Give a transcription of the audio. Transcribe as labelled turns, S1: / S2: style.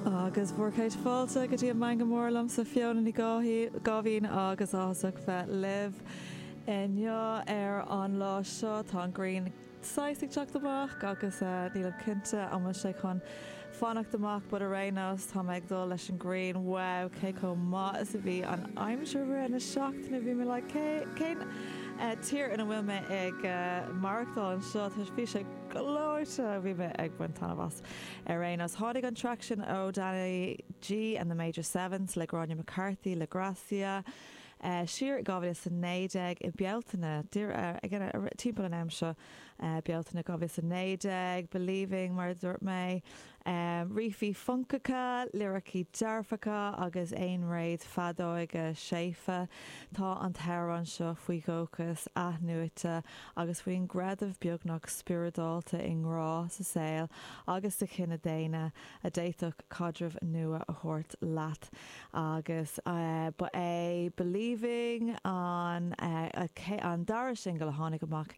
S1: Agus bhur gcéad fáilte go dtí an Meangadh Mór liomsa Fiona Ní Gáibhín agus áthasach bheith libh inniu ar an lá seo. Tá an ghrian saghas ag teacht amach agus nílim cinnte an bhfuil sé chun fanacht amach but ar aon nós tá mé ag dul leis an ghrian. Wow cé chomh maith is a bhí an aimsir i rith na seachtaine bhí mé like cé cén tír ina bhfuil mé ag maireachtáil anseo bhí sé gleoite bhí mé ag baint taitneamh as. Ar aon nós tháinig an traic sin ó Danny G and the Major Sevens le Gráinne McCarthy le Gracia. Siar i 2019 i Bealtaine, timpeall an am seo, Bealtaine 2019, Believing mar a dúirt mé, rífí funcacha, liricí dearfacha agus aonréad feadóige séimhe. Tá an t-amhrán seo faoi dhóchas athnuaite agus faoin gcreideamh beagnach spioradálta i ngrá sa saol agus sa chine daonna a d'fhéadfadh caidreamh nua a thabhairt leat. Agus ba é Believing an an dara singil a tháinig amach.